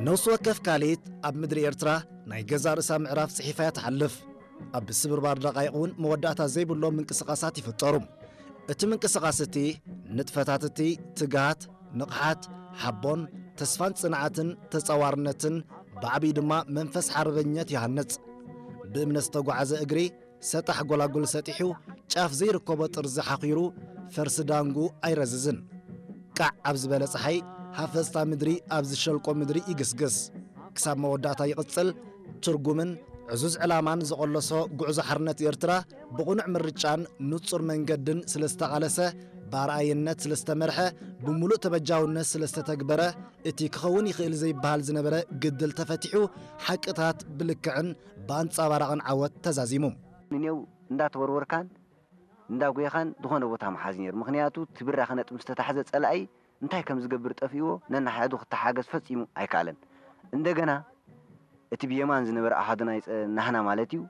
ነፍሲ ወከፍ ካልኢት ኣብ ምድሪ ኤርትራ ናይ ገዛእ ርእሳ ምዕራፍ ጽሒፋ እያ ትሓልፍ። ኣብ ስብርባር ደቓይቕ እውን መወዳእታ ዘይብሎም ምንቅስቓሳት ይፍጠሩ። እቲ ምንቅስቓስ እቲ ንጥፈታት እቲ ትግሃት፣ ንቕሓት፣ ሓቦን፣ ተስፋን ጽንዓትን ተጻዋርነትን ብዓብዪ ድማ መንፈስ ሓርበኝነት ይሃንጽ። ብእምነት ዝተጓዓዘ እግሪ ሰጣሕ ጎላጉል ሰጢሑ ጫፍ ዘይርከቦ ጥርዚ ሓኺሩ ፈርሲ ዳንጉ ኣይረዝዝን። ቃዕ ኣብ ዝበለ ጸሓይ ሃፈስታ ምድሪ ኣብ ዝሸልቆ ምድሪ ይግስግስ። ክሳብ መወዳእታ ይቕጽል። ትርጉምን ዕዙዝ ዕላማን ዝቐለሶ ጉዕዞ ሓርነት ኤርትራ ብቕኑዕ ምርጫን ንጹር መንገድን ስለ ዝተቓለሰ ብኣርኣይነት ስለ ዝተመርሐ ብምሉእ ተበጃውነት ስለ ዝተተግበረ እቲ ክኸውን ይኽእል ዘይበሃል ዝነበረ ግድል ተፈቲሑ ሓቅታት ብልክዕን ብኣንጻባራቕን ዓወት ተዛዚሙ። ንኔው እንዳተወርወርካን እንዳጎየኻን ዝኾነ ቦታ ምሓዝ ነይሩ። ምኽንያቱ እቲ ብራኸ ነጥቢ ምስ ተታሕዘ ጸላኢ እንታይ ከም ዝገብር ጠፊእዎ ነናሓዱ ክተሓገዝ ፈጺሙ ኣይከኣለን። እንደገና እቲ ብየማን ዝነበረ ኣሃዱ ናይ ጸ-፣ ናህና ማለት እዩ፣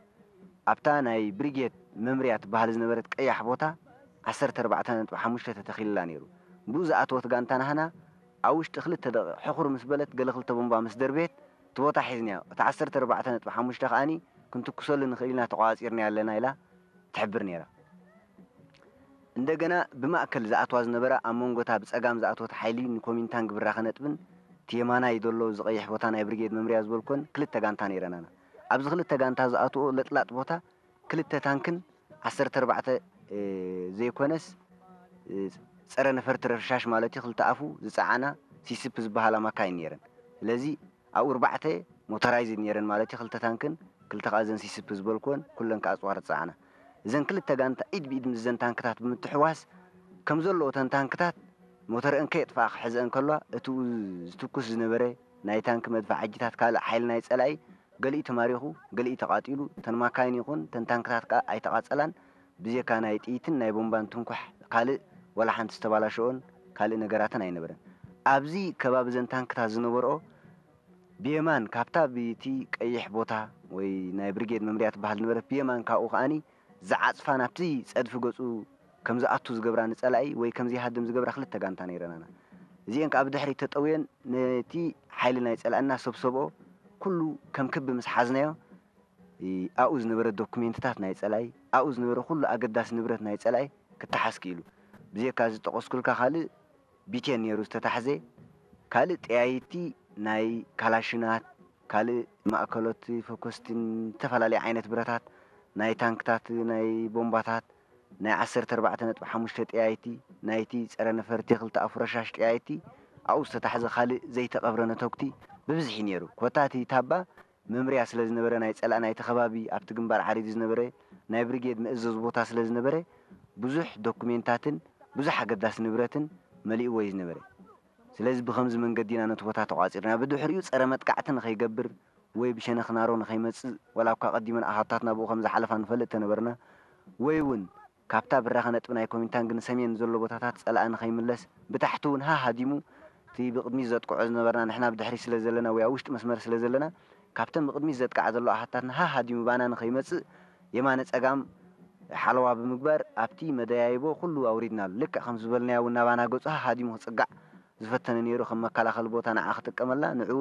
ኣብታ ናይ ብሪጌድ መምርያ ትበሃል ዝነበረት ቀያሕ ቦታ ዓሰርተ ኣርባዕተ ነጥቢ ሓሙሽተ ተተኺልላ ነይሩ። ብኡ ዝኣተወት ጋንታ ናህና ኣብ ውሽጢ ክልተ ደቂቕ ሕኹር ምስ በለት ገለ ክልተ ቦምባ ምስ ደርበየት እቲ ቦታ ሒዝናዮ። እቲ ዓሰርተ ኣርባዕተ ነጥቢ ሓሙሽተ ከኣኒ ክንትኩሰሉ ንኽእል ኢና ተቋጺርና ኣለና ኢላ ትሕብር ነይራ። እንደገና ብማእከል ዝኣትዋ ዝነበራ ኣብ መንጎታ ብጸጋም ዝኣትወት ሓይሊ ንኮሚንታንግ ብራኸ ነጥብን እቲ የማናይ ዘሎ ዝቐይሕ ቦታ ናይ ብርጌድ መምርያ ዝበልኮን ክልተ ጋንታ ነይረናና። ኣብዚ ክልተ ጋንታ ዝኣትዎ ለጥላጥ ቦታ ክልተ ታንክን ዓሰርተ ኣርባዕተ፣ እ፣ ዘይኮነስ፣ እ፣ ጸረ ነፈርቲ ረሻሽ ማለት እዩ፣ ክልተ ኣፉ ዝጸዓና ሲስፕ ዝበሃላ ማካይን ነይረን። ስለዚ ኣብኡ ኣርባዕተ ሞተራይዝድ ነይረን ማለት እዩ፣ ክልተ ታንክን ክልተ ከኣ ዘን ሲስፕ ዝበልኩወን ኩለን ከኣ ኣጽዋር ዝጸዓና። እዘን ክልተ ጋንታ ኢድ ብኢድ ምስ ዘን ታንክታት ብምትሕዋስ ከም ዘለዎ እተን ታንክታት ሞተርአን ከየጥፍኣ ክሕዘአን ከለዋ እቲኡ ዝትኩስ ዝነበረ ናይ ታንክ መድፍዓጅታት ካልእ ሓይሊ ናይ ጸላኢ ገሊኡ ተማሪኹ፣ ገሊኡ ተቓጺሉ፣ እተን ማካይን ይኹን እተን ታንክታት ከኣ ኣይተቓጸላን። ብዜካ ናይ ጥይትን ናይ ቦምባን ትንኳሕ ካልእ ዋላ ሓንቲ ዝተባላሸኦን ካልእ ነገራትን ኣይነበረን። ኣብዚ ከባቢ እዘን ታንክታት ዝነበርኦ ብየማን ካብታ ብቲ ቀይሕ ቦታ ወይ ናይ ብርጌድ መምርያ ትበሃል ዝነበረት ብየማን ካብኡ ከኣኒ ዝዓጽፋ ናብቲ ጸድፊ ገጹ ከም ዝኣቱ ዝገብራ ንጸላኢ ወይ ከም ዘይሃድም ዝገብራ ክልተ ጋንታ ነይረናና። እዚአን ከኣ ብድሕሪት ተጠውየን ነቲ ሓይሊ ናይ ጸላኢ እናሰብሰብኦ ኩሉ ከም ክቢ ምስ ሓዝናዮ፣ እ፣ ኣብኡ ዝነበረ ዶኩሜንትታት ናይ ጸላኢ፣ ኣብኡ ዝነበረ ኩሉ ኣገዳሲ ንብረት ናይ ጸላኢ ክተሓዝ ክኢሉ። ብዜካ ዝጠቐስኩልካ ካልእ ቢቴን ነይሩ ዝተታሕዘ፣ ካልእ ጠያይቲ ናይ ካላሽናት፣ ካልእ ማእከሎት ፈኮስትን ዝተፈላለየ ዓይነት ብረታት፣ ናይ ታንክታት፣ ናይ ቦምባታት፣ ናይ ዓሰርተ ኣርባዕተ ነጥቢ ሓሙሽተ ጠያይቲ፣ ናይቲ ጸረ ነፈርቲ ክልተ ኣፉ ረሻሽ ጠያይቲ፣ ኣብኡ ዝተታሕዘ ካልእ ዘይተቐብረ ነተጉቲ ብብዝሒ ነይሩ። ኮታ እቲ ታባ መምርያ ስለ ዝነበረ ናይ ጸላእ ናይቲ ከባቢ ኣብቲ ግንባር ዓሪዱ ዝነበረ ናይ ብሪጌድ መእዘዚ ቦታ ስለ ዝነበረ ብዙሕ ዶኩሜንታትን ብዙሕ ኣገዳሲ ንብረትን መሊእዎ እዩ ዝነበረ። ስለዚ ብኸምዚ መንገዲ ኢና ነቲ ቦታ ተቋጺርና። ብድሕሪኡ ጸረ መጥቃዕቲ ንኸይገብር ወይ ብሸነኽ ናሮ ንኸይመጽእ፣ ወላ እኳ ቀዲመን ኣሃታትና ብኡ ከም ዝሓለፋ ንፈልጥ ተነበርና፣ ወይ እውን ካብታ ብራኸ ነጥቢ ናይ ኮሚንታንግ ንሰሜን ዘሎ ቦታታት ጸላኢ ንኸይምለስ፣ ብታሕቲ እውን ሃሃዲሙ እቲ ብቕድሚት ዘጥቅዖ ዝነበርና ንሕና ብድሕሪት ስለ ዘለና ወይ ኣብ ውሽጢ መስመር ስለ ዘለና፣ ካብተን ብቕድሚት ዘጥቅዓ ዘሎ ኣሃታትና ሃሃዲሙ ባና ንኸይመጽእ የማነ ጸጋም ሓለዋ ብምግባር ኣብቲ መደያይቦ ኩሉ ኣውሪድናሉ። ልክዕ ከም ዝበልናዮ እውን ናባና ገጹ ሃሃዲሙ ክጽጋዕ ዝፈተነ ነይሩ፣ ከም መከላኸሊ ቦታ ንዓ ክጥቀመላ፣ ንዕኡ